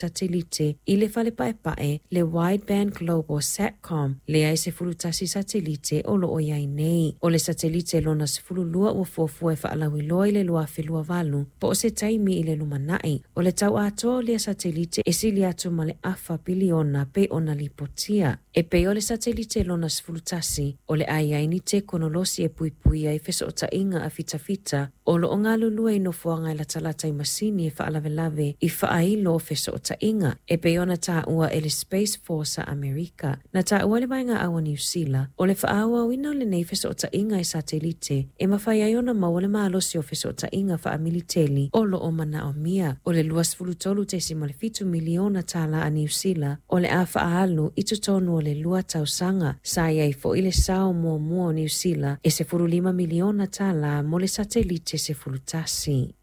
Satelite i le fale paepae le Wideband Global Satcom lea e 11 satelite o lo o i ai nei. O le satelite lona 12 ua fuafua e faalauiloa i le 2028 po o se taimi i le lumanai. O le tau atoa o lea satelite e sili atu ma le afa piliona pei ona lipotia. E pei o le satelite lona 11, o le a i ai ni tekonolosi e puipuia ai fesootaiga a fitafita o lo o galulue i nofoaga e latalata i masini e faalavelave i faailo o fesootaiga, e pei ona taua e le Space Force a Amerika. Na taua e le Vaega Au a Niu Sila, o le faaauauina o lenei fesootaiga i satelite e mafai ai ona maua le malosi o fesootaiga faamiliteli o lo o manaomia. O le $23.7 miliona tala a Niu Sila o le a faaalu i totonu o le 2 tausaga. Sa i ai foi le sao muamua o Niu Sila e $15 miliona tala mo le satelite 11.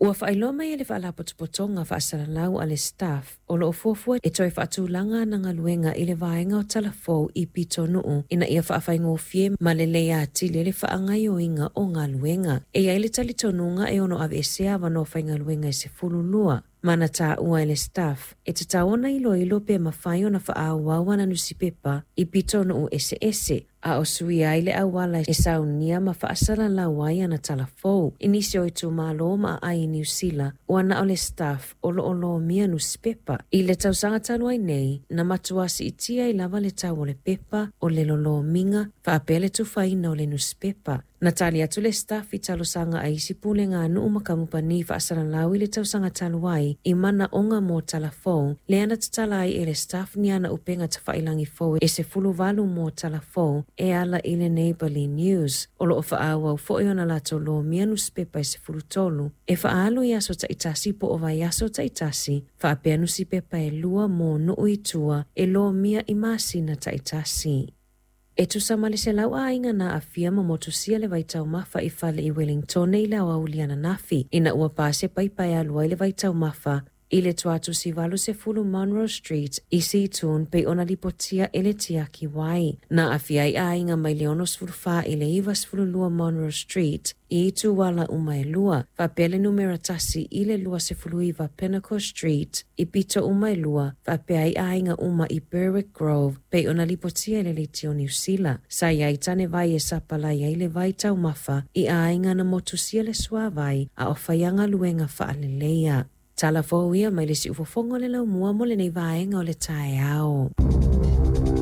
Ua faailoa mai e le Faalapotopotoga Faasalalau a le Stuff o lo o fuafua e toe faatulaga ana galuega i le vaega o talafou i pitonuu ina ia faafaigofie ma lelei atili le faagaoioiga o galuega. E i ai le talitonuga e ono aveesea avanoa faigaluega e 12. Ma na taua e le Stuff e tatau ona iloilo pe mafai ona faaauau ana nusipepa i pitonuu eseese, a o suia ai le auala e saunia ma faasalalau ai ana talafou. I nisi o itumalo ma aai i Niu Sila, ua na o le Stuff o lo o lomia nusipepa. I le tausaga talu ai nei, na matua siitia ai lava le tau o le pepa, o le lolomiga, faapea le tufaina o le nusipepa. Na tali atu le Stuff i talosaga a isi pulega a nuu ma kamupani faasalalau i le tausaga talu ai i manaoga mo talafou, lea na tatala ai e le Stuff ni ana upega tafailagi fou e 18 mo talafou e ala i le Neighbourly News. O lo o faaauau foi ona latou lomia nusipepa e 13 e faaalu i aso taitasi po o vaiaso taitasi, faapea nusipepa e 2 mo nuu i tua e lomia i masina taitasi. E tusa ma le 100 aiga na aafia ma motusia le vaitaumafa i fale i Wellingtone i le aoauli ananafi, ina ua pa se paipa e alu ai le vaitaumafa i le tuatusi 80 Monroe Street i Seatoun pei ona lipotia e le tiaki wai. Na aafia ai aiga mai le 64 i le 92 Monroe Street i ituala uma e 2, faapea le numera 1 i le 29 Pinnacle Street i pito uma e 2, faapea ai aiga uma i Berwick Grove pei ona lipotia e le leitio Niu Sila. Sa i ai tane vai e sapalai ai le vaitaumafa i aiga na motusia le suavai a o whai galuega faaleleia. Tala fou ia mai le siufofoga o le laumua mo lenei vaega o le taeao.